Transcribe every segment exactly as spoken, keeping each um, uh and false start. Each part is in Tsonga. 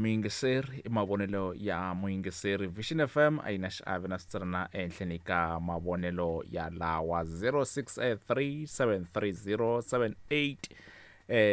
Muyingiseri i mavonelo ya muyingiseri. Vision F M a yi na xiave na switsanana ehenhleni ka mavonelo ya lawa zero six three seven three zero seven eight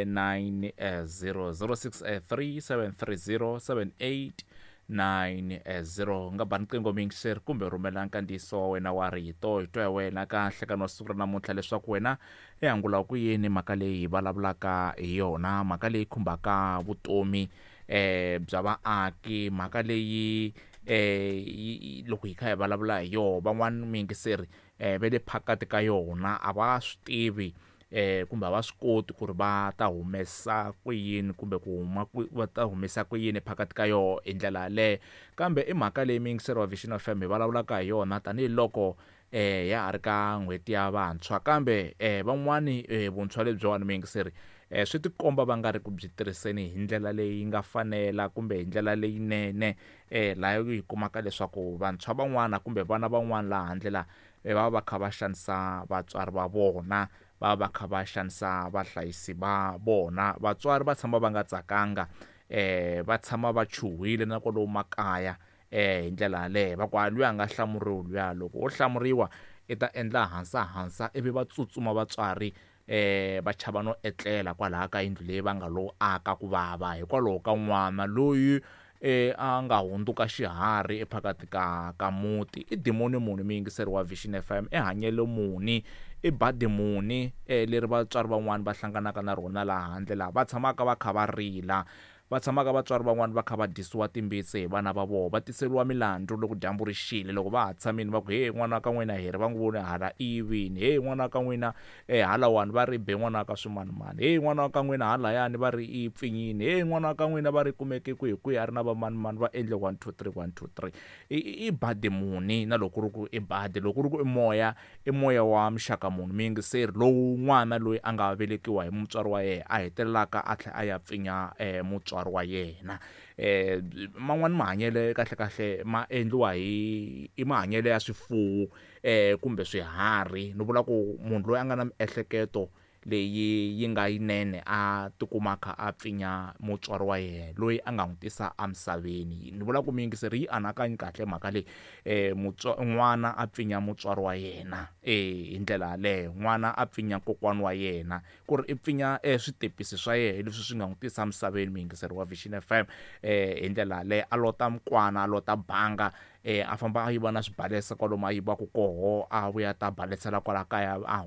nine zero, zero six three seven three zero seven eight nine zero. Nga ba riqingho muyingiseri kumbe rhumela nkandziyiso wa wena wa rito hi twa ya wena ka nhlekani wa siku ra namuntlha leswaku wena i angula ku yini mhaka leyi hi vulavulaka hi yona, mhaka leyi khumbaka vutomi eh bya vaaki, mhaka leyi eh loko hi kha hi vulavula hi yona van'wani muyingiseri eh va le phakati ka yona a va swi tivi eh kumbe a va swi koti ku ri va ta humesa ku yini kumbe ku huma ku va ta humesa ku yini phakati ka yona hi ndlela yaleyo. Kambe i mhaka leyi muyingiseri wa Vision F M hi vulavulaka hi yona tanihiloko eh ya ha ri ka n'hweti ya vantshwa, kambe eh van'wani vuntshwa lebyiwani muyingiseri eh swi tikomba va nga ri ku byi tirhiseni hi ndlela leyi nga fanela kumbe hi ndlela leyinene eh laha hi kumaka leswaku vantshwa van'wana kumbe vana van'wana laha handle la va va kha va xanisa vatswari va vona, va va kha va xanisa vahlayisi va vona. Vatswari va tshama va nga tsakanga eh va tshama va chuhile na kwalomu makaya eh hi ndlela yaleyo va ku a luya a nga hlamuriwi luya, loko wo hlamuriwa i ta endla hansa hansa ivi va tsutsuma vatswari eh va chava no etlela kwalaha ka yindlu leyi va nga lo aka ku vava hikwalaho ka n'wana loyi eh a nga hundzuka xiharhi ephakati ka ka muti. I dimoni muni muyingiseri wa Vision F M, i hanyelo muni, i badi muni eh leri vatswari van'wani va hlanganaka na rona laha handle laha va tshamaka va kha va rila, va tshamaka vatswari van'wani va kha va dyisiwa timbitsi hi vana va vona, va tiseriwa milandzu loko dyambu ri xile, loko va ha tshamile va ku he n'wana wa ka n'wina hi ri va n'wi voni hala i yivini, he n'wana wa ka n'wina eh halawani va ri be n'wana wa ka swimanimani, he n'wana wa ka n'wina halayani va ri i pfinyini, he n'wana wa ka n'wina va ri kumeke kwihi kwihi a ri na vamanimani va endle one two three one two three. I, i badi muni na loko ku ri ku i badi, loko ku ri ku i moya, i moya wa muxaka muni muyingiseri lowu n'wana loyi a nga velekiwa hi mutswari wa yena a hetelelaka a tlhela a ya pfinya eh mutswari wa yena. Eh man'wani mahanyelo kahle kahle ma endliwa hi i mahanyelo ya swifuwo eh kumbe swiharhi. Ni vula ku munhu loyi a nga na miehleketo leyi yi nga yinene a tikuma a kha a pfinya mutswari wa yena loyi a nga n'wi tisa emisaveni. Ni vula ku muyingiseri yi anakanyi kahle mhaka leyi eh n'wana a pfinya mutswari wa yena eh hi ndlela yaleyo, n'wana a pfinya kokwana wa yena ku ri i pfinya eh switepisi swa yena leswi swi nga n'wi tisa emisaveni muyingiseri wa Vision F M eh hi ndlela yaleyo a lota mukwana, a lota banga eh a famba a yiva na swibalesa kwalomu a yivaku koho a vuya ta balesela kwala kaya a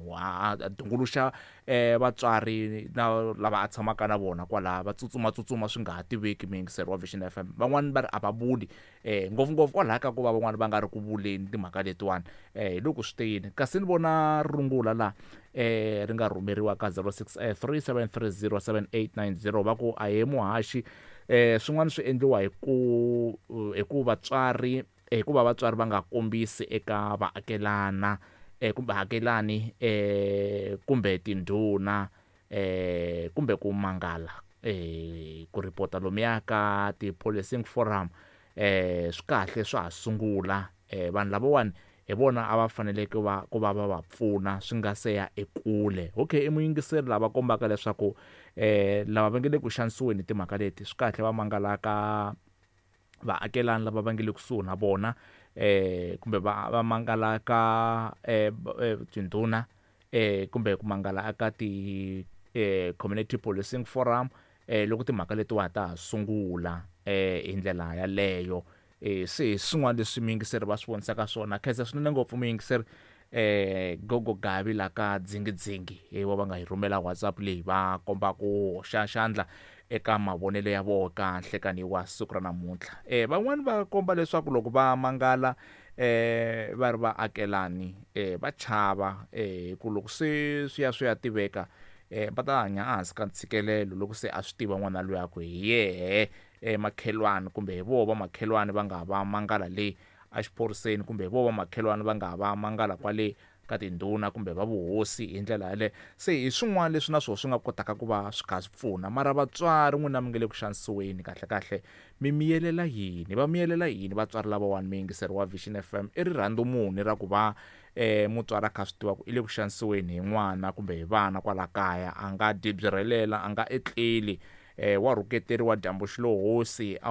a dunguluxa eh vatswari na lava a tshamaka na vona kwala va tsutsuma tsutsuma swi nga ha tiveki muyingiseri wa Vision F M. Van'wani va ri a va vuli eh ngopfungopfu kwalaha ka ku va van'wani va nga ri ku vuleni timhaka letiwani eh hi loko swi te yini. Kasi ni vona rungula la eh ri nga rhumeriwa ka zero six three seven three zero seven eight nine zero va ku a he muhaxi eh swin'wana swi endliwa hi ku hi ku vatswari hikuva vatswari va nga kombisi eka vaakelana eh kumbe hakelani eh kumbe tindhuna eh kumbe ku mangala eh ku ripota lomuya ka ti-policing forum eh swi kahle swa ha sungula eh vanhu lavawani hi vona a va faneleke va ku va va va pfuna swi nga se ya ekule. Okay, i muyingiseri lava kombaka leswaku eh lava va nge le ku xanisiweni hi timhaka leti swi kahle va mangala ka vaakelani lava va nge le kusuhi na vona eh kumbe va va mangala ka eh tindhuna eh kumbe ku mangala ka ti eh community policing forum eh loko timhaka letiwa ta ha sungula eh hi ndlela yaleyo. Eh se hi swin'wana leswi muyingiseri va swi vonisaka swona. Khensa swinene ngopfu muyingiseri eh Gogo Gavi la ka dzingidzingi hi va va nga hi rhumela WhatsApp leyi va komba ku hoxa xandla eka mavonelo ya vona ka nhlekani wa siku ra namuntlha. Eh van'wani va komba leswaku loko va mangala eh va ri vaakelani eh va chava eh ku loko se swi ya swi ya tiveka eh va ta hanya ehansi ka ntshikelelo loko se a swi tiva n'wana loyi a ku hi yehe eh makhelwani kumbe hi voho va makhelwani va nga va mangala le a xiphoriseni kumbe hi voho va makhelwani va nga va mangala kwale ka tindhuna kumbe va vuhosi hi ndlela yaleyo. Se hi swin'wana leswi na swona swi nga kotaka ku va swi kha swi pfuna. Mara vatswari n'wina mi nge le ku xanisiweni kahle kahle mi miyelela yini, va miyelela yini vatswari lavawani muyingiseri wa Vision F M? I rirhandzu muni ra ku va eh mutswari a kha swi tiva ku i le ku xanisiweni hi n'wana kumbe hi vana kwala kaya, a nga dyi byi rhelela, a nga etleli eh wa rhuketeriwa dyambu xilohosi.